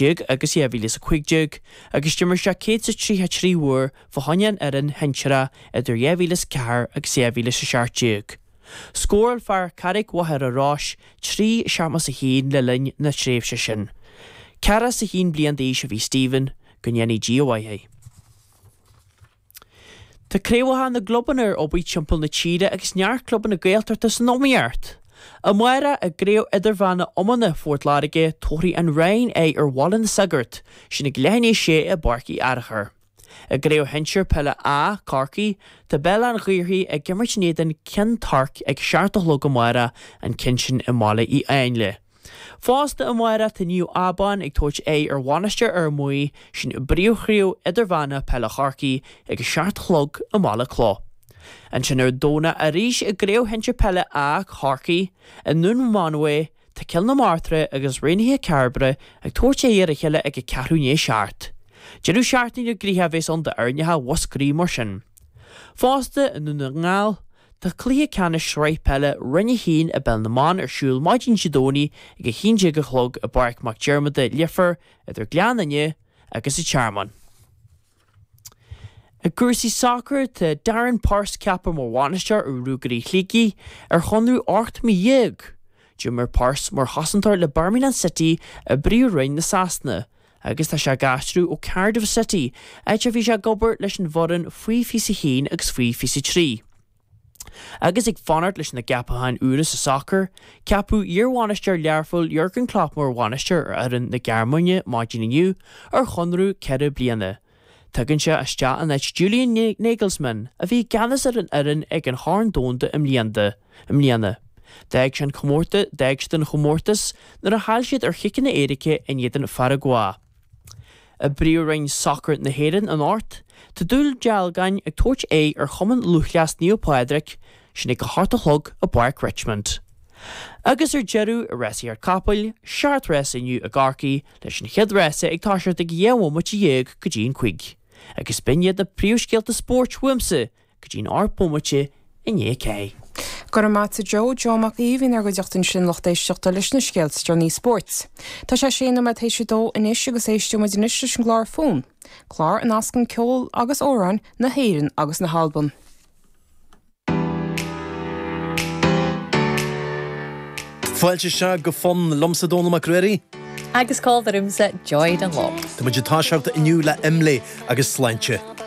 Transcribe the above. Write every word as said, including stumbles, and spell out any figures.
déag agus dhá mhíle is a cúig déag agus d'imir sé céad is tríocha a trí uair fá choinne an fhoireann shinsearach idir dhá mhíle is a ceathair agus dhá mhíle is a seacht déag. Scóráil fear Charraig Mhachaire Rois trí seachtó is a haon le linn na tréimhse sin. Ceathracha is a haon bliain d'aois a bhí Stephen, go ndéanaí Dia a mhaith é. Tá craobhacha na gclubanna ar obair timpeall na tíre agus neart clubanna Gaeltachta san iomaíocht. Amárach i gCraobh Idirmheánach Iomána Phort Láirge, tabharfaidh an Rinn aghaidh ar Bhaile na Sagart, sin ag leath i ndiaidh a sé i bPáirc Uí Fhearchair. I gCraobh Shinsir Peile A, Corcaigh, tá Béal Átha an Ghaorthaidh ag imirt in éadan Cionn Toirc ag seacht a chlog amárach, an ceann sin i mBaile Uí Áinle. Fosta amárach tá Naomh Abán ag tabhairt aghaidh ar Mhainistir Fhear Maí, sin i bPríomhchraobh Idirmheánach Peile Chorcaí ag a seacht a chlog i mBaile Clough. Ansin ar an Domhnach arís i gCraobh Shinsir Peile A Chorcaí, i nDún Mánmhaí, tá Cill na Martra agus Raonaithe Cairbre ag tabhairt aghaidh ar a chéile ag a ceathrú i ndiaidh a seacht. Deireadh seachtaine gnoitheach a bheas ann d'fhoirneacha Mhúscraí mar sin. Fosta i nDún na nGall, Tá cluiche ceannais Sraith Peile Roinn a haon i bPeil na mBan ar siúl maidin Dé Domhnaigh ag a haon déag a chlog i bPáirc Mac Diarmada, Leifear, idir Gleann Fhinne agus an Tearmann. I gcúrsaí sacair, tá Darren Purse ceaptha mar bhainisteoir ar Ruagairí Shligigh ar chonradh ocht mí dhéag. D'imir Purse mar chosantóir le Birmingham City i bPríomh-Roinn na Sasana agus tá sé ag aistriú ó Cardiff City, áit a bhí sé ag obair leis an bhfoireann faoi fiche a haon agus faoi fiche a trí. Agus ag fanacht leis na gceapacháin úra sa sacar, ceapadh iarbhainisteoir Learphoill Jurgen Klopp mar bhainisteoir ar fhoireann na Gearmáine maidin inniu ar chonradh ceithre bliana. Tagann sé isteach in áit Julian Nagelsmann, a bhí i gceannas ar an fhoireann ag an Chorn Domhanda i mbliana. D'fhág sé an comórtas d'fhág siad an chomórtas nuair a chaill siad ar chiceanna éirice in éadan Pharagua. I bPríomhroinn Sacair na hÉireann anocht, tá Dún Dealgáin ag tabhairt aghaidh ar Chumann Lúthchleas Naomh Pádraig, sin ag a hocht a chlog i bPáirc Richmond. Agus ar deireadh, i rásaíocht capaill, seacht rása inniu i gCorcaigh, leis an chéad rása ag toiseacht ag dhá bhomaite dhéag go dtí an cúig. Agus b'in iad na príomhscéalta spóirt uaimse go dtí an ocht bomaite i ndiaidh a ceathair. Go raibh maith agat a Joe, Joe Mac Aoidh a bhí inár gcuideachta ansin lucht éisteachta leis na scéalta is deireanaí spóirt. Tá sé sé nóiméad théis a dó anois agus éisteoidh muid anois leis an gclár Fonn, clár a nascann ceol agus amhráin na hÉireann agus na hAlban. Fáilte isteach go Fonn liomsa Dónall Mac Ruairí. Agus col ormsa Joy Dunlop. Tá muid ag toiseacht inniu le Imlé agus Sláinte.